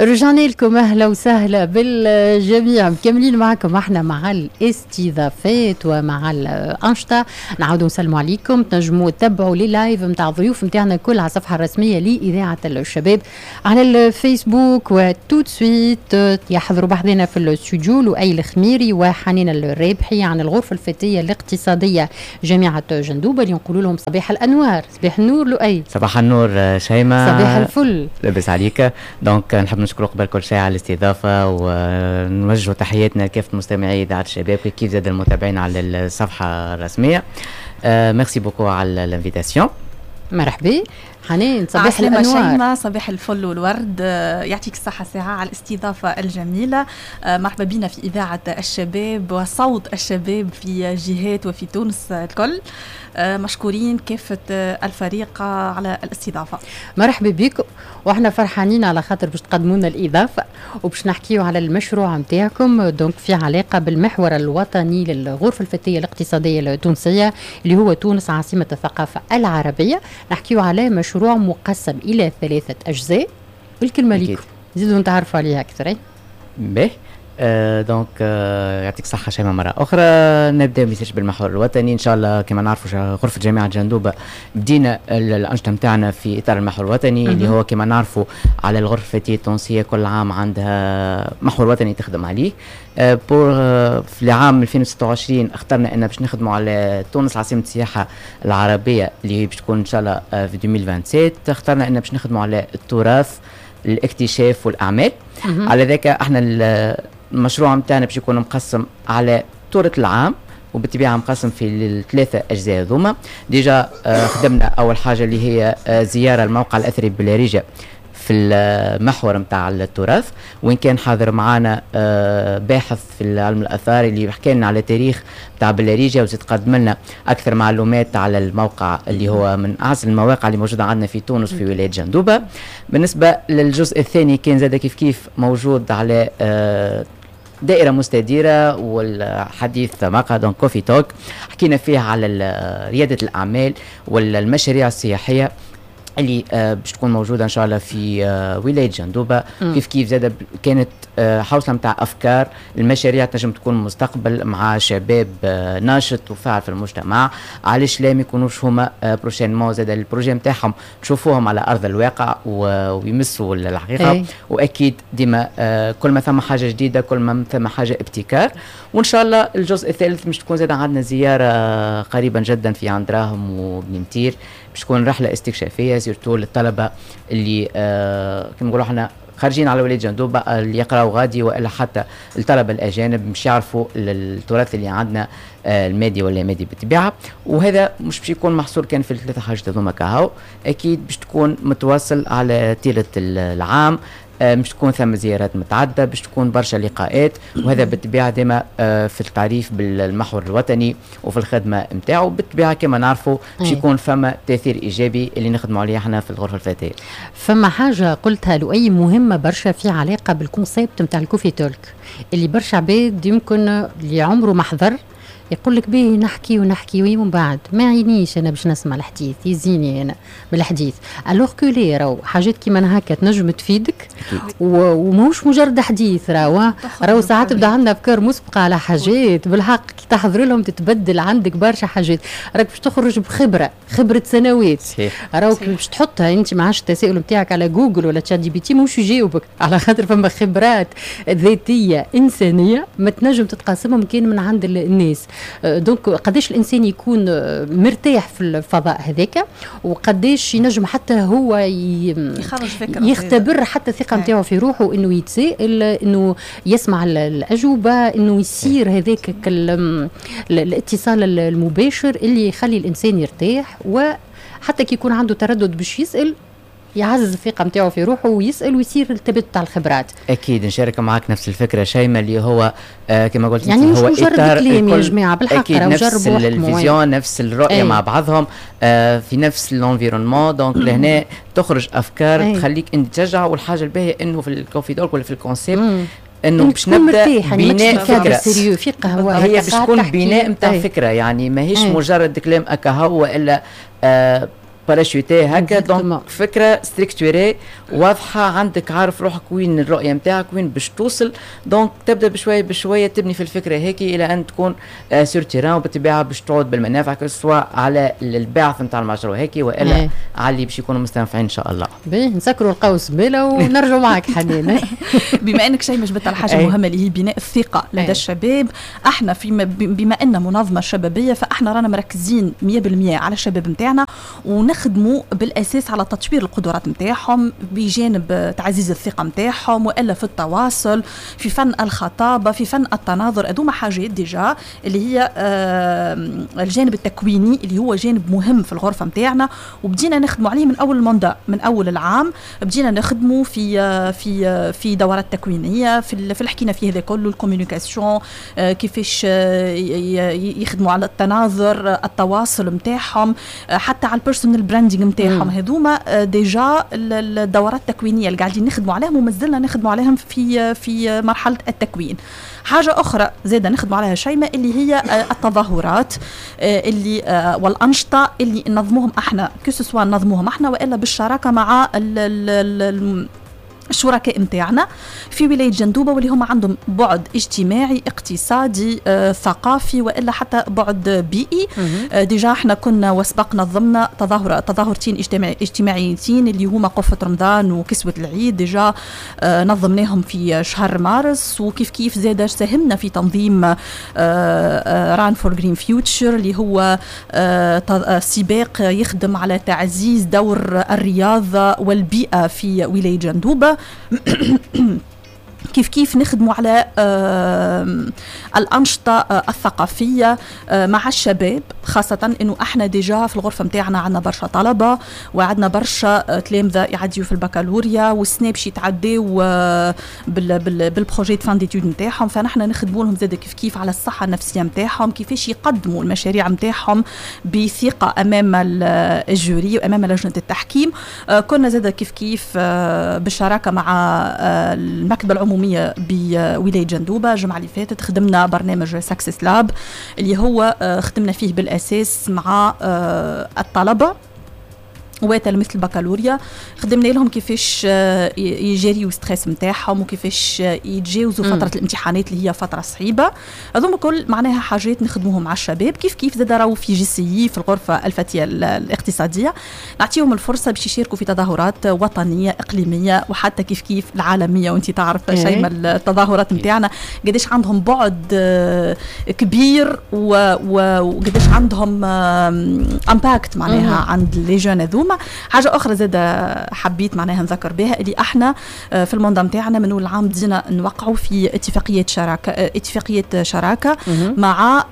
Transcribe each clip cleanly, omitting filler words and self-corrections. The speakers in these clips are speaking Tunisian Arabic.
رجعنا لكم، اهلا وسهلا بالجميع. مكملين معكم احنا مع الاستضافات ومع الانشطه. نعاودوا نسلموا عليكم، تنجموا تتبعوا les lives نتاع الضيوف نتاعنا كل على الصفحة الرسمية لاذاعة الشباب على الفيسبوك. و tout de suite يحضروا بحذنا في الاستوديو لؤي الخميري وحنين الرابحي عن الغرفة الفتية الاقتصادية جامعه جندوبه، اللي نقولوا لهم صباح الانوار، صباح النور لؤي. صباح النور شيماء. صباح الفل. لاباس عليك؟ donc نحب نشكر قبل كل شيء على الاستضافة ونوجه تحياتنا لكافة مستمعي إذاعة الشباب، كيف زاد المتابعين على الصفحة الرسمية. merci beaucoup على l'invitation. مرحبا حنين، صباح الانوار. شيماء، صباح الفل والورد، يعطيك الصحة ساعة على الاستضافة الجميلة. مرحبا بنا في إذاعة الشباب وصوت الشباب في جهات وفي تونس الكل. مشكورين كافة الفريق على الاستضافة. مرحبا بكم، واحنا فرحانين على خاطر باش تقدموا لنا الإضافة وباش نحكيو على المشروع نتاعكم، donc في علاقة بالمحور الوطني للغرفة الفتية الاقتصادية التونسية اللي هو تونس عاصمة الثقافة العربية. نحكيو على مشروع مقسم إلى ثلاثة أجزاء، والكلمة ليكم زيدوا نتعرفوا عليها أكثر. باهي، donc يعطيك الصحة شيماء مرة أخرى. نبدأ message بالمحور الوطني إن شاء الله. كما نعرفوا، غرفة جامعة جندوبة بدينا الأنشطة نتاعنا في إطار المحور الوطني، اللي هو كما نعرفوا على الغرفة الفتية التونسية كل عام عندها محور وطني تخدم عليه. pour في العام 2026 اخترنا ان باش نخدموا على تونس عاصمة السياحة العربية اللي هي باش تكون ان شاء الله في 2027. اخترنا ان باش نخدموا على التراث، الاكتشاف والاعمال. على ذاك احنا المشروع نتاعنا باش يكون مقسم على طولة العام، وبالطبيعه مقسم في الثلاثة اجزاء هذوما. déjà خدمنا اول حاجة اللي هي زيارة الموقع الاثري بلاريجا في المحور نتاع التراث، وين كان حاضر معنا باحث في علم الاثار اللي حكى لنا على تاريخ نتاع بلاريجيا وزيد قدم لنا اكثر معلومات على الموقع اللي هو من اعز المواقع اللي موجودة عندنا في تونس في ولاية جندوبه. بالنسبة للجزء الثاني كان زاد كيف كيف موجود على دائرة مستديرة والحديث مقهى، donc coffee talk، حكينا فيه على ريادة الأعمال والمشاريع السياحية اللي باش تكون موجودة ان شاء الله في ولاية جندوبه. كيف كيف زاد كانت حوصله نتاع افكار المشاريع تنجم تكون مستقبل مع شباب ناشط وفاعل في المجتمع. علاش لا ما يكونوش هما prochainement زاد ال projet نتاعهم تشوفوهم على ارض الواقع ويمسوا الحقيقه؟ أي. واكيد ديما كل ما ثم حاجة جديده، كل ما ثم حاجة ابتكار. وان شاء الله الجزء الثالث مش تكون زاد عندنا زيارة قريبا جدا في عين دراهم وبني مطير، باش تكون رحله استكشافيه surtout للطلبة اللي كما نقولوا احنا خارجين على ولاية جندوبه، اللي يقراوا غادي، والا حتى الطلبة الاجانب مش يعرفوا التراث اللي عندنا المادي ولا مادي بالطبيعه. وهذا مش باش يكون محصور كان في الثلاثة حاجات هذوما كهو، اكيد باش تكون متواصل على طيلة العام، مش تكون ثم زيارات متعدده، باش تكون برشا لقاءات، وهذا بالطبيعة ديما في التعريف بالمحور الوطني وفي الخدمة نتاعو. بالطبيعة كما نعرفوا باش يكون فما تاثير ايجابي اللي نخدموا عليه احنا في الغرفة الفتية. فما حاجة قلتها لؤي مهمة برشا في علاقة بال concept نتاع ال coffee talk، اللي برشا عباد يمكن اللي عمره ما حضر يقول لك باهي نحكي ونحكي ومن بعد ما عينيش انا باش نسمع الحديث، يزيني انا بالحديث، alors que لا، راهو حاجات كيما هكا تنجم تفيدك وماهوش مجرد حديث. راهو ساعات تبدا عندنا افكار مسبقة على حاجات، بالحق كي تحضر لهم تتبدل عندك برشا حاجات، راك باش تخرج بخبره، خبره سنوات. راهو باش تحطها انت ما عادش التساؤل نتاعك على جوجل ولا ChatGPT ماهوش يجاوبك، على خاطر فما خبرات ذاتية انسانيه ما تنجم تتقاسمهم كان من عند الناس. donc قداش الانسان يكون مرتاح في الفضاء هذاك وقداش ينجم حتى هو يخرج فكرة، يختبر حتى الثقة نتاعو في روحه، انه يتسائل، انه يسمع الاجوبه، انه يصير هذاك الاتصال المباشر اللي يخلي الانسان يرتاح، وحتى كي يكون عنده تردد باش يسال يعزز الثقة نتاعو في روحه ويسال ويصير التبادل تاع الخبرات. اكيد نشارك معك نفس الفكرة شيماء، اللي هو كما قلت يعني مش هو مجرد كلام يا جماعه، بالحق. أكيد نفس ال vision، نفس الرؤيه، أي. مع بعضهم في نفس l'environnement، donc لهنا تخرج افكار تخليك انت تشجع. والحاجة الباهيه انه في ال coffee talk ولا في ال concept انه باش نبدا يعني بناء فكره. في قهوه. هي باش تكون بناء نتاع فكره، يعني ماهيش مجرد كلام اكاهو والا parachuté هكا. donc فكرة structurée واضحة عندك، عارف روحك وين الرؤية نتاعك، وين باش توصل. donc تبدا بشوية بشوية تبني في الفكرة هيك الى ان تكون sur terrain، وبالطبيعه باش تعود بالمنافع سواء على الباعث نتاع المشروع هيك والا على اللي باش يكونوا مستنفعين ان شاء الله. باهي، نسكروا القوس بلا ونرجعوا معك حنين. بما انك شيء جبت على حاجة مهمة اللي هي بناء الثقة لدى الشباب، احنا في بما ان منظمة شبابية فاحنا رانا مركزين 100% على الشباب نتاعنا، ونخدموا بالاساس على تطوير القدرات نتاعهم بجانب تعزيز الثقة نتاعهم، والا في التواصل، في فن الخطابه، في فن التناظر. هذوما حاجات déjà اللي هي الجانب التكويني اللي هو جانب مهم في الغرفة نتاعنا، وبدينا نخدموا عليه من اول mandat، من اول العام بدينا نخدموا في دورات تكوينيه في حكينا فيه هذا كله، ال communication، كيفاش يخدموا على التناظر، التواصل نتاعهم، حتى على ال personal branding نتاعهم. هذوما déjà الدورات التكوينيه اللي قاعدين نخدموا عليهم ومازلنا نخدموا عليهم في مرحلة التكوين. حاجة اخرى زاده نخدموا عليها شيماء اللي هي التظاهرات اللي والانشطه اللي ننظموهم احنا، que ce soit ننظموهم احنا والا بالشراكة مع ال الشركاء نتاعنا في ولاية جندوبه، واللي هم عندهم بعد اجتماعي، اقتصادي، ثقافي، والا حتى بعد بيئي. Déjà احنا كنا وسبق نظمنا تظاهرتين اجتماعيتين اللي هما قفة رمضان وكسوه العيد، déjà نظمناهم في شهر مارس. وكيف كيف زاد ساهمنا في تنظيم Run for Green Future اللي هو سباق يخدم على تعزيز دور الرياضة والبيئة في ولاية جندوبه. كيف كيف نخدموا على الأنشطة الثقافية مع الشباب، خاصة أنه احنا déjà في الغرفة متاعنا عندنا برشا طلبة وعندنا برشا تلامذة يعديوا في البكالوريا والسنة باش يتعداو بال projet fin d'études نتاعهم. فنحن نخدموا لهم زاد كيف كيف على الصحة النفسية نتاعهم، كيفاش يقدموا المشاريع نتاعهم بثقة أمام ال jury وأمام لجنة التحكيم. كنا زاد كيف كيف بالشراكة مع المكتبة العمومية بولاية جندوبة الجمعة اللي فاتت خدمنا برنامج Success Lab اللي هو خدمنا فيه بالأساس مع الطلبة وتلاميذ البكالوريا. خدمنا لهم كيفاش يجاريو stress نتاعهم وكيفاش يتجاوزوا فترة الامتحانات اللي هي فترة صعيبه. هذوما كل معناها حاجات نخدموهم مع الشباب. كيف كيف زاد راهو في JCI في الغرفة الفتية الاقتصادية نعطيهم الفرصة باش يشاركوا في تظاهرات وطنيه، اقليميه، وحتى كيف كيف العالميه. وانت تعرف شيء التظاهرات نتاعنا قداش عندهم بعد كبير وقداش عندهم impact معناها عند les jeunes هذوما. حاجة اخرى زاد حبيت معناها نذكر بها اللي احنا في ال mandat نتاعنا من اول العام بدينا نوقعوا في اتفاقية شراكه مع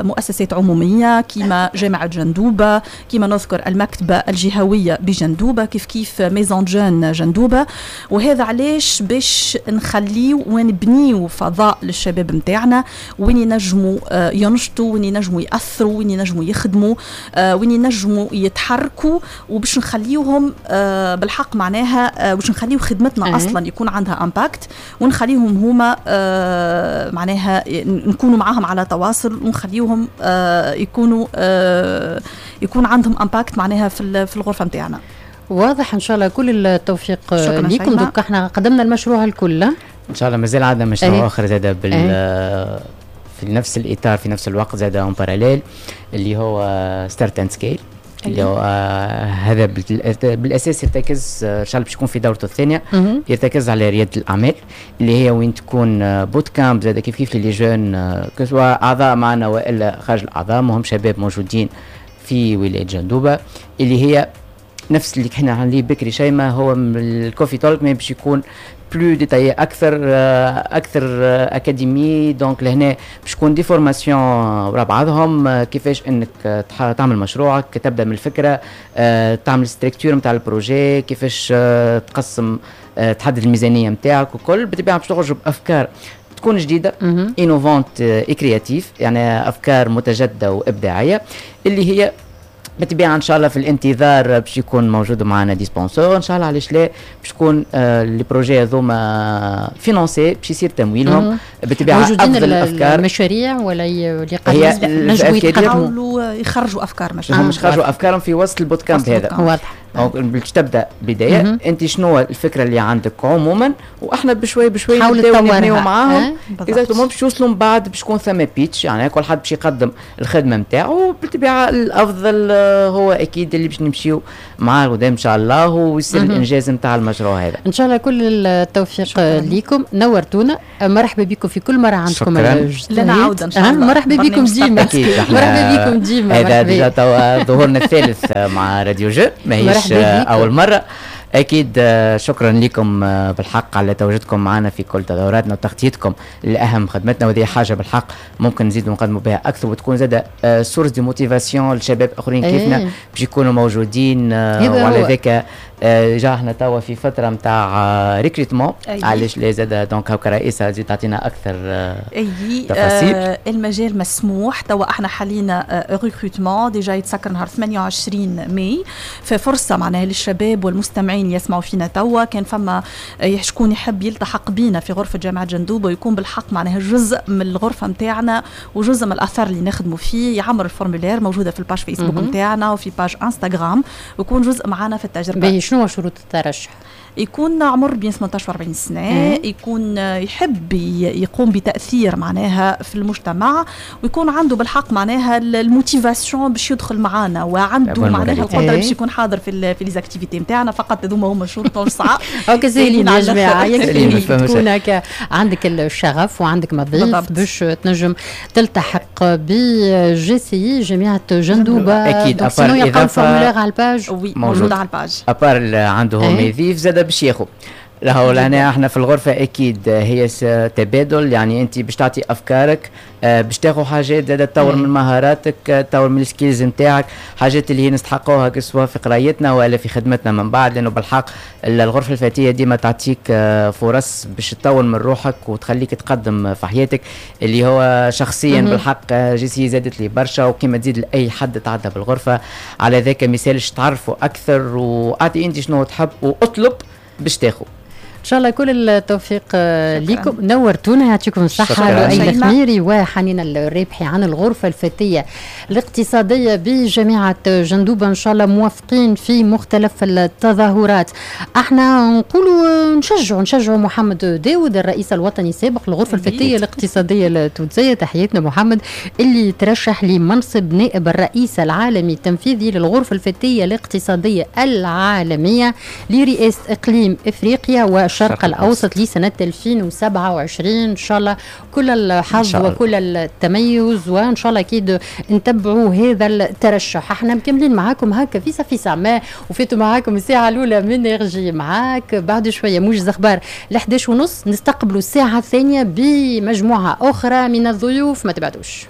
مؤسسات عموميه كيما جامعه جندوبه، كيما نذكر المكتبة الجهوية بجندوبه، كيف كيف maison jeunes جندوبه. وهذا علاش؟ باش نخليو ونبنيو فضاء للشباب نتاعنا وين ينجموا ينشطوا، وين ينجموا ياثروا، وين ينجموا يخدموا، وين ينجموا يتحركوا، وباش نخليوهم بالحق معناها باش نخليو خدمتنا اصلا يكون عندها impact، ونخليهم هما معناها نكونوا معاهم على تواصل ونخليوهم يكون عندهم impact معناها في الغرفة نتاعنا. واضح، ان شاء الله كل التوفيق لكم. دوك احنا قدمنا المشروع الكل. ان شاء الله مازال عندنا مشروع اخر زاد في نفس الاطار، في نفس الوقت زاد en parallèle، اللي هو Start and Scale، اللي هو هذا بالاساس يرتكز ان شاء الله باش يكون في دورته الثانيه، يرتكز على رياده الاعمال، اللي هي وين تكون bootcamp زاد كيف كيف les jeunes، que ce soit اعضاء معنا والا خارج الاعضاء، مهم شباب موجودين في ولاية جندوبه، اللي هي نفس اللي كنا عليه بكري شيء ما هو ال coffee talk، mais باش يكون plus détaillé اكثر، اكثر académie. donc لهنا باش تكون des formations ورا بعضهم، كيفاش انك تعمل مشروعك، تبدا من الفكره، تعمل structure نتاع ال projet، كيفاش تقسم، تحدد الميزانية نتاعك وكل. بالطبيعة باش تخرج بافكار تكون جديده، innovantes et créatives، يعني افكار متجددة وابداعيه اللي هي بالطبيعة ان شاء الله في الانتظار باش يكون موجود معنا des sponsors ان شاء الله، علاش لا، باش تكون les projets هذوما financés، باش يصير تمويلهم بالطبيعه. موجودين افضل الافكار، المشاريع ولا اللي قاعدين نجموا يتقدموا؟ يخرجوا افكار مشاريع. هم مش خرجوا افكارهم في وسط ال bootcamp هذا. donc باش تبدا بدايه، انت شنو الفكرة اللي عندك عموما، واحنا بشوي بشوي نبداو نبنيو معاهم exactement باش يوصلوا من بعد باش يكون ثم pitch، يعني كل حد باش يقدم الخدمة نتاعو. بالطبيعة الافضل هو اكيد اللي باش نمشيو معاه قدام ان شاء الله ويصير الانجاز نتاع المشروع هذا. ان شاء الله كل التوفيق ليكم، نورتونا، مرحبا بكم في كل مرة عندكم. لنا عوده ان شاء الله. مرحبا بكم ديما. اكيد. مرحبا بكم ديما. هذا déjà توا ظهورنا الثالث مع راديو Jeunes، ماهيش اول مره. اكيد شكرا لكم بالحق على تواجدكم معنا في كل تظاهراتنا وتغطيتكم لاهم خدمتنا، وهذه حاجة بالحق ممكن نزيدوا نقدموا بها اكثر وتكون زاد source de motivation لشباب اخرين كيفنا باش يكونوا موجودين. وعلى ذاك déjà احنا توا في فترة نتاع recrutement، علاش لا زاد donc هكا رئيسه تزيد تعطينا اكثر تفاصيل. المجال مسموح، توا احنا حاليا recrutement déjà يتسكر نهار 28 ماي، ففرصه معناها للشباب والمستمعين يسمعوا فينا توا، كان فما شكون يحب يلتحق بينا في غرفة جامعه جندوبه ويكون بالحق معناها جزء من الغرفة نتاعنا وجزء من الاثر اللي نخدموا فيه، يعمر ال formulaire موجودة في ال page فيسبوك نتاعنا وفي page انستغرام ويكون جزء معنا في التجربه. شنو شروط الترشح؟ يكون عمر بين 18 و 40 سنه، يكون يحب يقوم بتاثير معناها في المجتمع، ويكون عنده بالحق معناها ال motivation باش يدخل معانا، وعنده معناها القدرة باش يكون حاضر في les activités نتاعنا. فقط هذوما هما الشروط الصعاب. هكا ساهلين يا جماعه، يكفي تكون هكا عندك الشغف وعندك ما تضيف باش تنجم تلتحق ب JCI جامعه جندوبه. اكيد. à part يلقاو ال formulaire على ال page. oui، موجود على ال page. à part عنده ما يضيف زاد باش ياخذ له. لهنا احنا في الغرفة اكيد هي تبادل، يعني انت باش تعطي افكارك باش تاخذ حاجات زاد تطور من مهاراتك، تطور من ال skills نتاعك، حاجات اللي هي نستحقوها سواء في قرايتنا ولا في خدمتنا من بعد، لانه بالحق الغرفة الفتية ديما تعطيك فرص باش تطور من روحك وتخليك تقدم في حياتك، اللي هو شخصيا بالحق JCI زادت لي برشا وكما تزيد لاي حد تعدى بالغرفة. على ذاك مثالش تعرفوا اكثر واعطي انت شنو تحب واطلب باش تاخذ. ان شاء الله كل التوفيق لكم، نورتونا، يعطيكم الصحة لؤي الخميري وحنين الرابحي عن الغرفة الفتية الاقتصادية بجامعة جندوبه، ان شاء الله موفقين في مختلف التظاهرات. احنا نقولوا نشجعوا محمد داود الرئيس الوطني السابق للغرفة الفتية الاقتصادية التونسيه، تحياتنا محمد، اللي ترشح لمنصب نائب الرئيس العالمي التنفيذي للغرفة الفتية الاقتصادية العالمية لرئاسة اقليم افريقيا والشرق الأوسط لسنة 2027. إن شاء الله كل الحظ وكل التميز، وإن شاء الله أكيد نتبعوا هذا الترشح. احنا مكملين معاكم هكا فيسع فيسع ما وفاتوا معاكم الساعة الأولى من RJ معاك. بعد شوية موجز أخبار 11:30 نستقبلوا الساعة الثانية بمجموعة أخرى من الضيوف، ما تبعدوش.